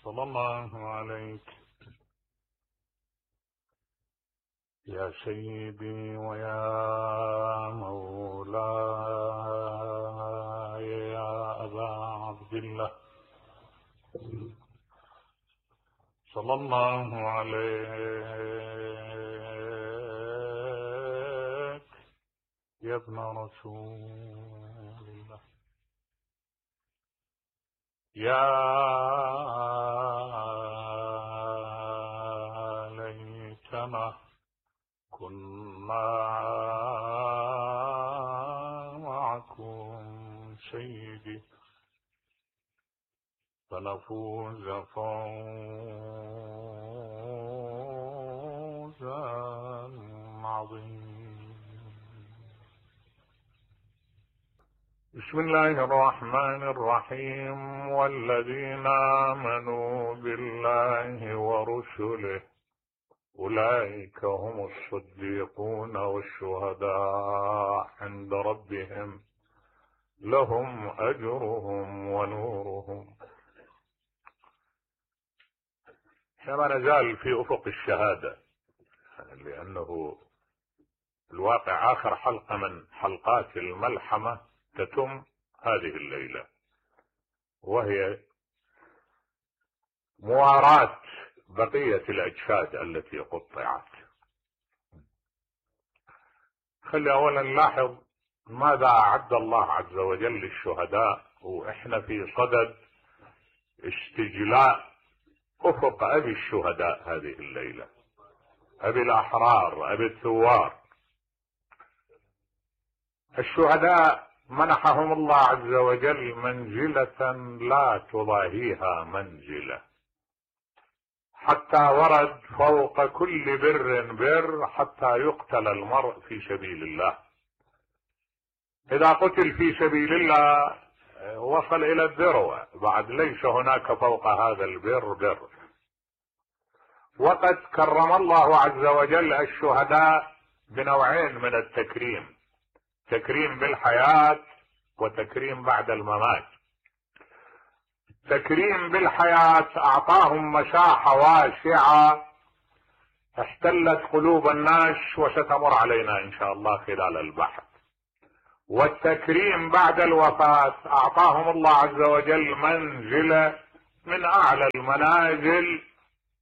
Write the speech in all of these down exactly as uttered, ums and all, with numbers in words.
صلى الله عليك يا سيدي ويا مولاي يا أبا عبد الله، صلى الله عليك يا ابن رسول الله، يا ليتنا كنا معكم سيدي فنفوز فوزا عظيما. بسم الله الرحمن الرحيم. والذين آمنوا بالله ورسله أولئك هم الصديقون والشهداء عند ربهم لهم أجرهم ونورهم. كما نزال في أفق الشهادة، لأنه الواقع آخر حلقة من حلقات الملحمة تتم هذه الليلة، وهي مواراة بقية الأجساد التي قطعت. خلي أولا نلاحظ ماذا أعد الله عز وجل للشهداء، وإحنا في صدد استجلاء أفق أبي الشهداء هذه الليلة، أبي الأحرار، أبي الثوار. الشهداء منحهم الله عز وجل منزلة لا تضاهيها منزلة، حتى ورد فوق كل بر بر حتى يقتل المرء في سبيل الله. إذا قتل في سبيل الله وصل إلى الذروة، بعد ليس هناك فوق هذا البر بر. وقد كرم الله عز وجل الشهداء بنوعين من التكريم، تكريم بالحياة وتكريم بعد الممات. تكريم بالحياة أعطاهم مساحة واسعة احتلت قلوب الناس وستمر علينا إن شاء الله خلال البحث. والتكريم بعد الوفاة أعطاهم الله عز وجل منزلة من أعلى المنازل،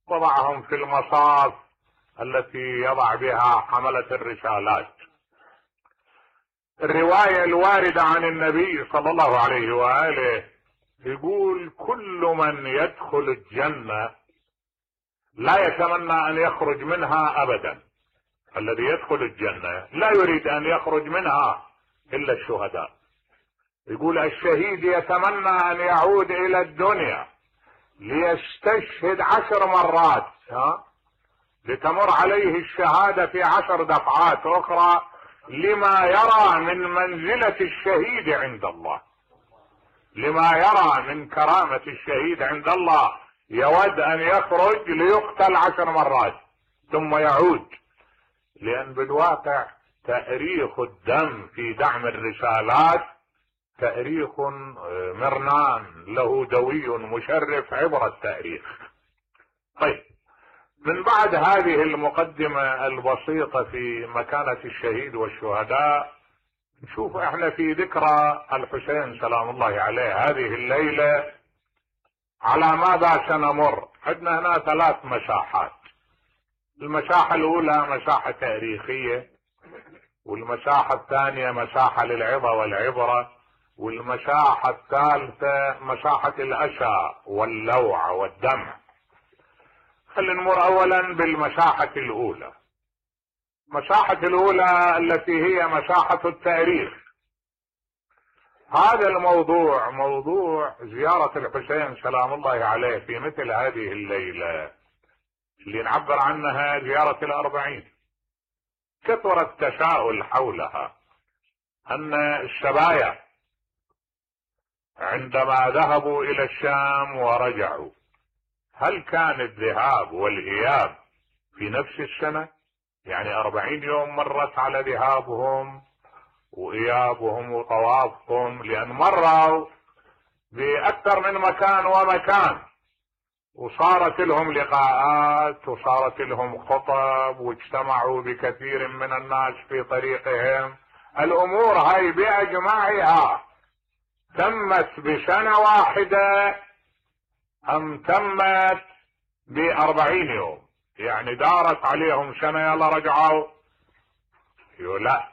وضعهم في المصاف التي يضع بها حملة الرسالات. الرواية الواردة عن النبي صلى الله عليه وآله يقول: كل من يدخل الجنة لا يتمنى أن يخرج منها أبدا. الذي يدخل الجنة لا يريد أن يخرج منها إلا الشهداء. يقول: الشهيد يتمنى أن يعود إلى الدنيا ليستشهد عشر مرات، ها؟ لتمر عليه الشهادة في عشر دفعات أخرى، لما يرى من منزلة الشهيد عند الله، لما يرى من كرامة الشهيد عند الله. يود أن يخرج ليقتل عشر مرات ثم يعود، لأن بالواقع تأريخ الدم في دعم الرسالات تأريخ مرنان له دوي مشرف عبر التأريخ. طيب، من بعد هذه المقدمة البسيطة في مكانة الشهيد والشهداء، نشوف احنا في ذكرى الحسين سلام الله عليه هذه الليلة على ماذا سنمر. عندنا هنا ثلاث مساحات. المساحة الأولى مساحة تاريخية، والمساحة الثانية مساحة للعظة والعبرة، والمساحة الثالثة مساحة الأسى واللوع والدمع. خلينا نمر أولا بالمساحة الأولى. مساحة الأولى التي هي مساحة التاريخ. هذا الموضوع موضوع زيارة الحسين سلام الله عليه في مثل هذه الليلة اللي نعبر عنها زيارة الأربعين. كثر التساؤل حولها، أن السبايا عندما ذهبوا إلى الشام ورجعوا، هل كان الذهاب والإياب في نفس السنة؟ يعني أربعين يوم مرت على ذهابهم وإيابهم وطوافهم، لأن مروا بأكثر من مكان ومكان. وصارت لهم لقاءات وصارت لهم خطب واجتمعوا بكثير من الناس في طريقهم. الامور هاي باجمعها تمت بسنة واحدة ام تمت باربعين يوم؟ يعني دارت عليهم سنة يلا رجعوا؟ لا،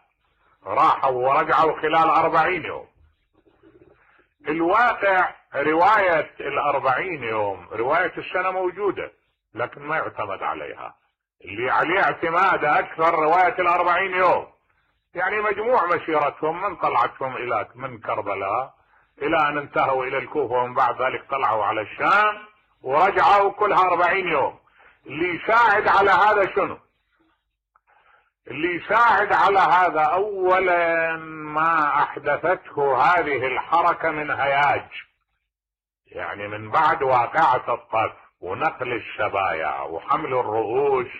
راحوا ورجعوا خلال اربعين يوم. الواقع رواية الاربعين يوم رواية السنة موجودة لكن ما يعتمد عليها، اللي عليه اعتماد اكثر رواية الاربعين يوم. يعني مجموع مسيرتهم من طلعتهم الى من كربلاء الى ان انتهوا الى الكوفة ومن بعد ذلك طلعوا على الشام ورجعوا كلها اربعين يوم. اللي يساعد على هذا شنو؟ اللي يساعد على هذا اولا ما احدثته هذه الحركة من هياج، يعني من بعد واقعة الطف ونقل الشبايا وحمل الرؤوس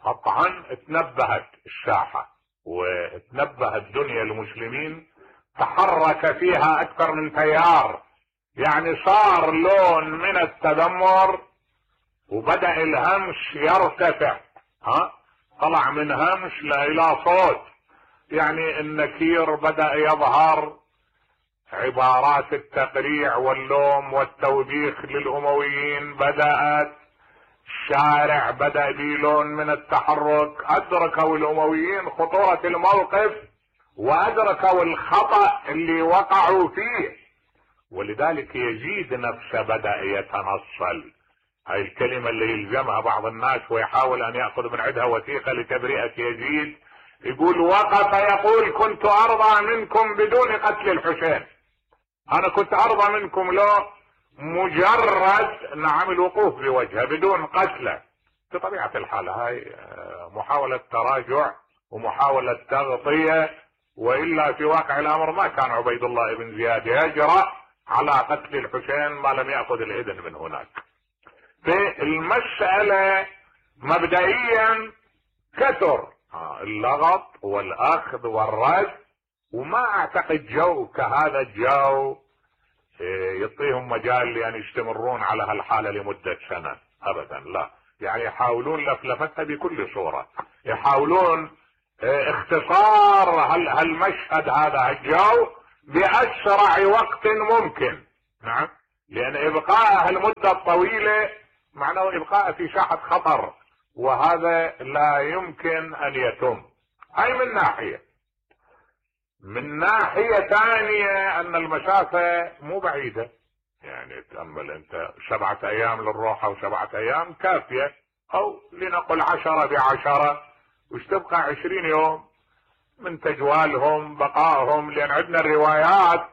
قطعا اتنبهت الساحة واتنبهت دنيا المسلمين، تحرك فيها اكثر من تيار. يعني صار لون من التذمر وبدأ الهمش يرتفع، ها طلع من همش الى صوت. يعني النكير بدأ يظهر، عبارات التقريع واللوم والتوبيخ للأمويين بدأت، الشارع بدأ بلون من التحرك. أدركوا الأمويين خطورة الموقف وأدركوا الخطأ اللي وقعوا فيه، ولذلك يزيد نفسه بدأ يتنصل. هاي الكلمة اللي يلزمها بعض الناس ويحاول أن يأخذ من عندها وثيقة لتبرئة يزيد، يقول وقف يقول كنت أرضى منكم بدون قتل الحسين. أنا كنت أرضى منكم لو مجرد نعم الوقوف بوجهه بدون قتله. بطبيعة الحال هاي محاولة تراجع ومحاولة تغطية، وإلا في واقع الأمر ما كان عبيد الله بن زياد يجرأ على قتل الحسين ما لم يأخذ الإذن من هناك. في المسألة مبدئيا كثر اللغط والأخذ والرد، وما أعتقد جو كهذا الجو يعطيهم مجال لأن يستمرون على هالحالة لمدة سنة أبدا، لا. يعني يحاولون لفلفتها بكل صورة، يحاولون اختصار هالمشهد هذا الجو بأسرع وقت ممكن. نعم، لأن إبقاء هالمدة الطويلة معناه إبقاء في ساحة خطر، وهذا لا يمكن أن يتم. هاي من ناحية. من ناحية ثانية أن المسافة مو بعيدة. يعني تأمل أنت سبعة أيام للروحة وسبعة أيام كافية، أو لنقل عشرة بعشرة، وش تبقى عشرين يوم من تجوالهم بقائهم. لأن عندنا الروايات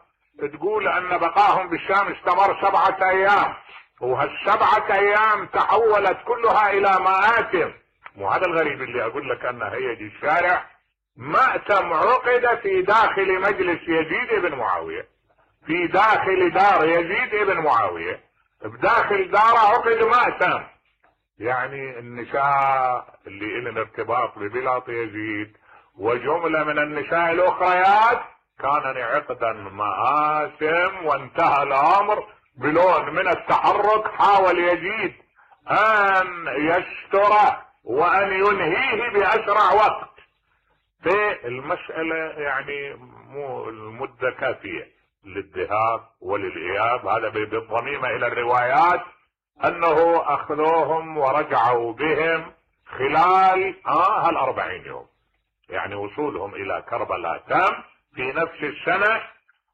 تقول أن بقائهم بالشام استمر سبعة أيام، وهالسبعة أيام تحولت كلها إلى مآتم. وهذا الغريب اللي أقول لك أن هيج الشارع مأتم عقد في داخل مجلس يزيد بن معاوية، في داخل دار يزيد بن معاوية، بداخل داره عقد مأتم. يعني النساء اللي لهم ارتباط ببلاط يزيد وجملة من النساء الأخريات كان عقدا مآتم، وانتهى الأمر بلون من التحرك. حاول يزيد أن يستره وأن ينهيه بأسرع وقت. في المسألة يعني مو المدة كافية للذهاب وللإياب. هذا بالضميمة إلى الروايات أنه أخذوهم ورجعوا بهم خلال آه هالأربعين يوم. يعني وصولهم إلى كربلاء تم في نفس السنة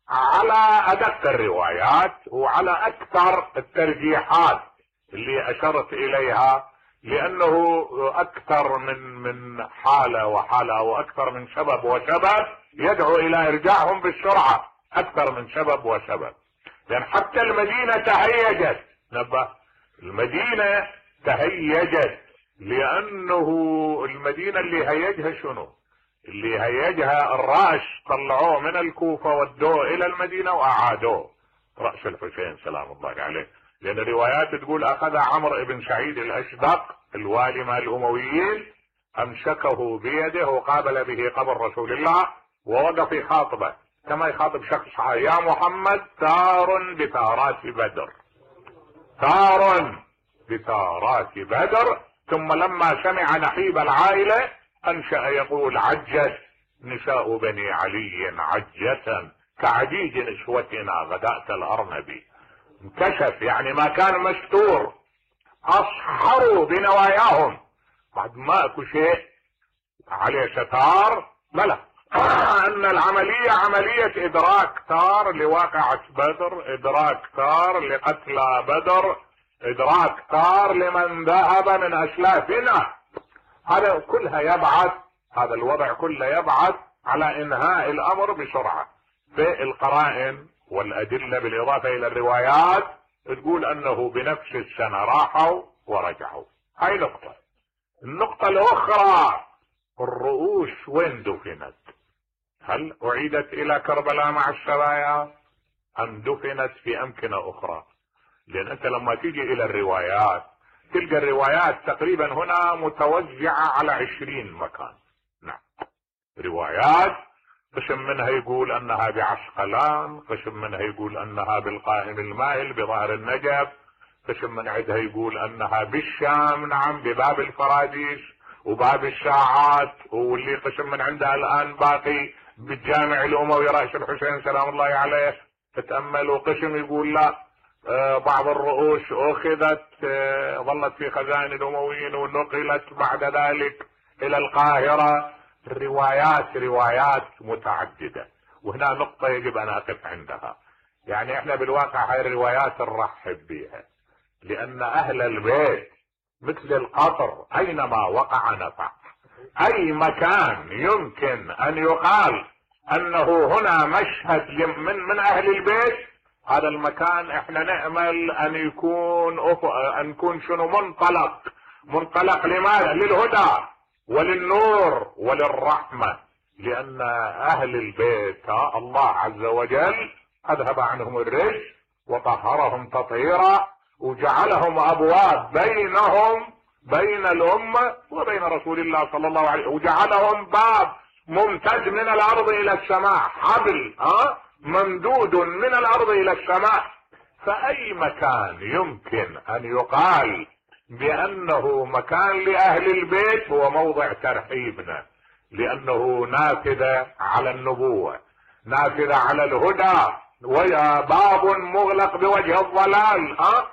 على أدق الروايات وعلى أكثر الترجيحات اللي أشرت إليها، لأنه أكثر من من حالة وحالة وأكثر من سبب وسبب يدعو إلى إرجاعهم بالسرعة، أكثر من سبب وسبب. لأن حتى المدينة تهيجت، نبه، المدينة تهيجت، لأنه المدينة اللي هيجها شنو؟ اللي هيجها الرأس، طلعوه من الكوفة ودوه إلى المدينة وأعادوه، رأس الحسين سلام الله عليه. لأن الروايات تقول أخذ عمرو بن سعيد الأشدق الوالي مع الأمويين، أمسكه بيده وقابل به قبر رسول الله ووقف يخاطبه كما يخاطب شخص: يا محمد ثار بثارات بدر. ثار بثارات بدر. ثم لما سمع نحيب العائلة انشأ يقول: عجت نساء بني علي عجة كعجيج نسوتنا غداة الارنب. انكشف، يعني ما كان مستور، اصحروا بنواياهم بعد ما اكو شيء عليه ستار. بلى ان العملية عملية ادراك ثار لواقعة بدر، ادراك ثار لقتلى بدر، ادراك ثار لمن ذهب من اسلافنا. هذا كلها يبعث، هذا الوضع كله يبعث على انهاء الامر بسرعة. في القرائن والادلة بالاضافة الى الروايات تقول انه بنفس السنة راحوا ورجعوا. هاي نقطة. النقطة الاخرى، الرؤوس وين دفنت؟ هل اعيدت الى كربلاء مع السرايا ام دفنت في امكنة اخرى؟ لان انت لما تيجي الى الروايات تلقى الروايات تقريبا هنا متوزعة على عشرين مكان. نعم، روايات قسم منها يقول انها بعسقلان، قسم منها يقول انها بالقائم المائل بظهر النجف، قسم من عندها يقول انها بالشام، نعم، بباب الفراديس وباب الساعات، واللي قسم من عندها الان باقي بالجامع الاموي راس الحسين سلام الله عليه. تتأمل. وقسم يقول لا، آه بعض الرؤوس اخذت، آه ظلت في خزائن الامويين ونقلت بعد ذلك الى القاهرة. الروايات روايات متعددة، وهنا نقطة يجب ان اقف عندها. يعني احنا بالواقع هاي الروايات نرحب بها، لان اهل البيت مثل القطر اينما وقع نفع. اي مكان يمكن ان يقال انه هنا مشهد من من اهل البيت، هذا المكان احنا نأمل ان يكون ان يكون شنو منطلق منطلق لماذا؟ للهدى وللنور وللرحمة. لان اهل البيت الله عز وجل اذهب عنهم الرجس وطهرهم تطهيرا، وجعلهم ابواب بينهم بين الامة وبين رسول الله صلى الله عليه وسلم، وجعلهم باب ممتد من الارض الى السماء، حبل ها ممدود من الارض الى السماء. فاي مكان يمكن ان يقال بانه مكان لاهل البيت هو موضع ترحيبنا، لانه نافذة على النبوة، نافذة على الهدى، وباب مغلق بوجه الضلال. ها